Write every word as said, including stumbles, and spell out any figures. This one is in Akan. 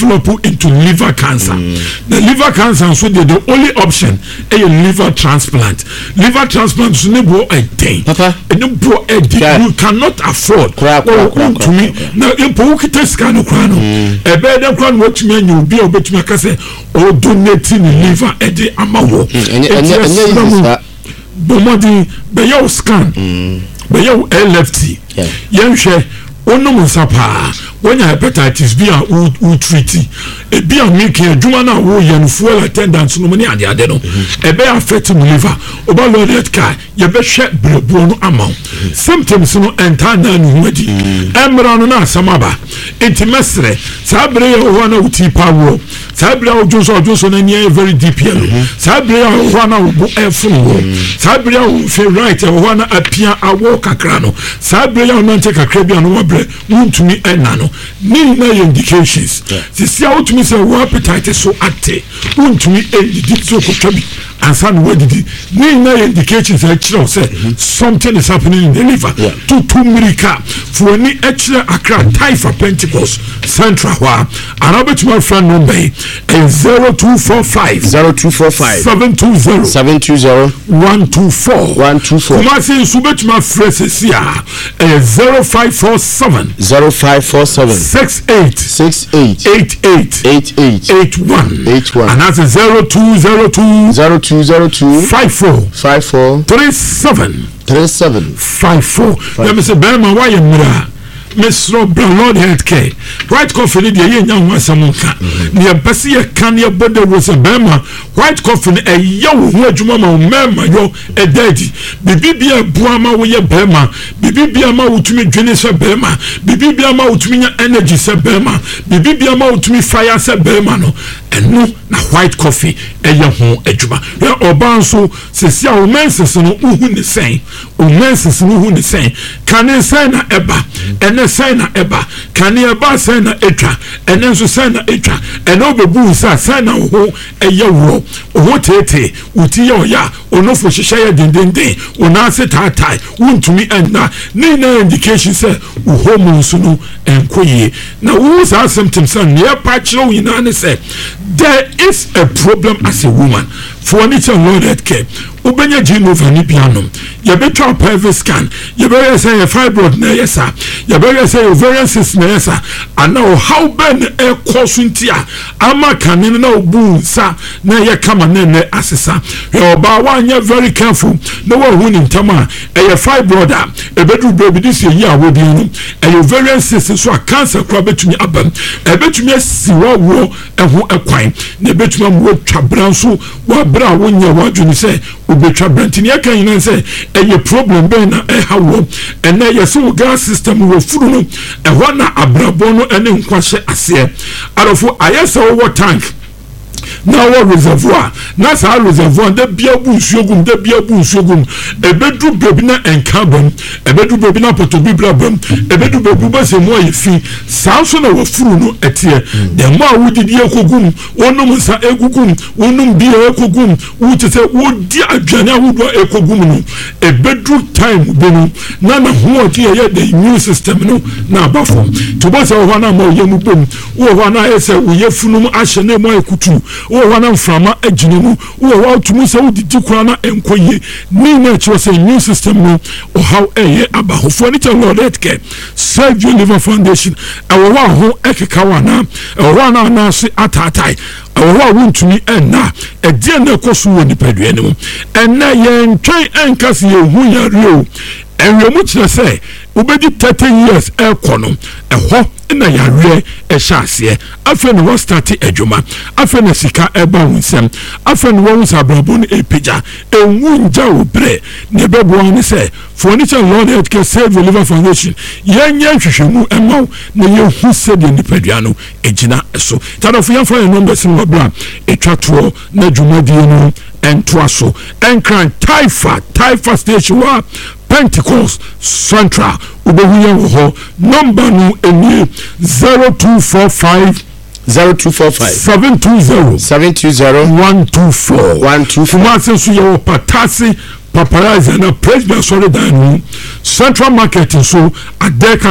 Develop into liver cancer mm. The liver cancer nso deɛ, the only option ɛyɛ liver transplant. Liver transplant nso ne boɔ ɛden, ɛne boɔ ɛden, you cannot afford. Ntumi na mpo wokita sika no koraa no, ɛbɛyɛ dɛ koraa no watumi anya obi a obetumi aka sɛ ɔdonate ne liver ɛde ama wɔ. Eti ɛsɛ mu bɔ mmɔden bɛyɛ wo scan, bɛyɛ wo L F T, yɛnhwɛ. Wonom nsa paa, wonya hepatitis B a wo treat ebi a meke adwuma no a woyɛ no, fuel attendant no mu ne adeade no, ɛbɛyɛ affect mu liver. Woba Lord Health Care, yɛbɛhwɛ berɛboɔ no ama wo. Symptoms no ɛntaa naa ne ho adi, ɛmmra no na asɛm aba. Nti mɛserɛ, saa bere yɛ wɔ hɔ a na wotii pa woɔ, saa bere a wodwo nso a wodwo nso no ani ayɛ very deep yellow, saa bere a wɔ hɔ a na wo bo ɛfono wɔ, saa bere a wo mfe right ɛwɔ hɔ a na apia awɔ kakra no, saa bere a wonante kakra bi a no wabrɛ, wontumi ɛna no, ne nyinaa yɛ indications. Sisi a wotumi sɛ wo appetite so ate, wontumi ɛndidi sɛ okotwa bi ansa na wadidi, ne nyinaa yɛ indications a ɛkyerɛ wo sɛ something is happening in the liver. Tutu mmirika fuani ɛkyerɛ Accra Taifa Pentecost Central hɔ a, anaa wobɛtumi afrɛ number yi, ɛyɛ zero two four five zero two four five seven two zero seven two zero one two four. one two four. Kumasi nso wobɛtumi afrɛ sɛsi a, ɛyɛ zero five four seven zero five four seven six eight six eight eight eight eight eight eight one eight one anaasɛ zero two zero two zero two zero two five four five four three seven three seven five four. Yɛmɛ sɛ bɛrima woayɛ mmerɛ a, mesrɛ, bra Lord Health Care. White coffee no deɛ, yɛnya ho asɛm nka ne yɛmpɛ sɛ yɛka ne yɛbɔ dawuro sɛ bɛrima, white coffee no ɛyɛ wo ho adwuma ma wo mmarima yɔ ɛda adi. Biribi bia ɛboa ma woyɛ bɛrima, biribi bia ma wotumi dwene sɛ bɛrima, biribi bia ma wotumi nya energy sɛ bɛrima, biribi bia ma wotumi fire sɛ bɛrima no, ɛno na white coffee ɛyɛ ho adwuma. Hwɛ, ɔbaa nso sisi a wo menses no, wohu ne sɛn? Wo menses no, wohu ne sɛn? Kane sɛn na ɛba? Ɛnɛ sɛn na ɛba? Kane ɛba sɛn na ɛtwa? Ɛnɛ nso sɛn na ɛtwa? Ɛnɛ wobɛbu nsa sɛn na wo ho ɛyɛ worɔ, wo ho teetee, wo ti yɛ ɔyɛ a, onofo hyehyɛ yɛ dendenden, wo nan ase taatae, wontumi ɛnna, ne nyinaa indication sɛ wo hormones no ɛnkɔ yie. Na wohu saa symptoms a nea ɛpa kyerɛ wo nyinaa ne sɛ there is a problem as a woman. For ani kyɛ Lord Health Care, wobɛnya Genova ne bianom, yɛbɛtwa pelvic scan, yɛbɛyɛ sɛ yɛ fibroid na ɛyɛ saa, yɛbɛyɛ sɛ yɛ ovarian cyst na ɛyɛ saa, ana ɔhaw bɛn na ɛkɔ so nti a ama kane no na obu nsa na ɛyɛ kama na ɛnɛ asesa. Hwɛ, ɔbaa, woanyɛ very careful na woahu ne ntam a, ɛyɛ fibroid a ɛbɛduru baabi de sɛ yi a wɔdeɛ no, ɛyɛ ovarian cyst nso a, cancer koraa bɛtumi aba mu, ɛbɛtumi asi wawoɔ ɛho ɛkwan, na ɛbɛtumi ama woatwa bra nso wabere a wonyɛ w'adwene sɛ wobɛtwa bra. Nti neɛ ɛka nyinaa sɛ ɛyɛ problem bɛn na ɛha wɔ. Ɛnɛ yɛsɛ wo gas system wɔ furu no, ɛhɔ na abrabɔ no ɛne nkwa hyɛ aseɛ. Adɔfo, ayɛ sɛ wowɔ tank na wɔ reservoir, na saa reservoir da bia bu nsuo gum, da bia bu nsuo gum, ɛbɛduru baabi na ɛnka bam, ɛbɛduru baabi na pɔtɔ bibira bam, ɛbɛduru baabi wobɛsɛ mu ayɛ fi. Saa nso na wafuru no ɛteɛ. Dɛm a wodidi ekogum, wonom nsa egugum, wonom bia ekogum, wote sɛ wodi aduane ahodoɔ ekogum no, ɛbɛduru time bi no na n'ahoɔden a ɛyɛ the immune system no na aba fam. Nti wobɛsɛ wɔ hɔ na ama ɔyɛ mu bom, wowɔ hɔ na ayɛ sɛ woyɛ funum ahyɛ na emu ayɛ kutu, wowɔ hɔ na mframa agyina mu, wowɔ hɔ a wotumi sɛ wodidi koraa na ɛnkɔ yie, ne nyinaa kyerɛ sɛ immune system no ɔhaw ɛyɛ aba hɔ. Foɔ ne kyɛ Lord Health Care Save Your Liver Foundation. Ɛwɔ hɔ a ho ɛkeka wɔ anaa ɛwɔ hɔ a na anaase ataatae, ɛwɔ hɔ a wontumi ɛnna, ɛdeɛ na ɛkɔ so wɔ nipadua no mu. Ɛnɛ yɛntwɛn ɛnka sɛ yɛhu yare o. Ɛnwɛmu kyerɛ sɛ wobɛdi thirty years ɛrekɔ no, ɛhɔ na yareɛ ɛhyɛ aseɛ. Afei na wɔstart adwuma, afei na sika ɛba wo nsɛm, afei na wɔn sɛ abrabɔ no ɛpagya. Ɛnwu ngya wo berɛ na ɛbɛboa ne sɛ foɔ ne kyɛ Lord Health Care Save Your Liver Foundation, yɛnyɛ nhwehwɛmu ɛma wo na yɛhu sɛdeɛ nipadua no ɛgyina so. Tadɔfo, yɛmfa yɛn numbers no wɔ berɛ a ɛtwa toɔ na dwumadie no ɛntoa so. Ɛnkran Taifa, Taifa station hɔ a, Pentecost Central, wobɛhu yɛn wɔ hɔ. Number no nie: zero two four five zero two four five seven two zero seven two zero one two four. one two four. Kumase nso yɛwɔ Patase Paparazzi na Presby asɔredan no mu, Central Market nso Adɛka.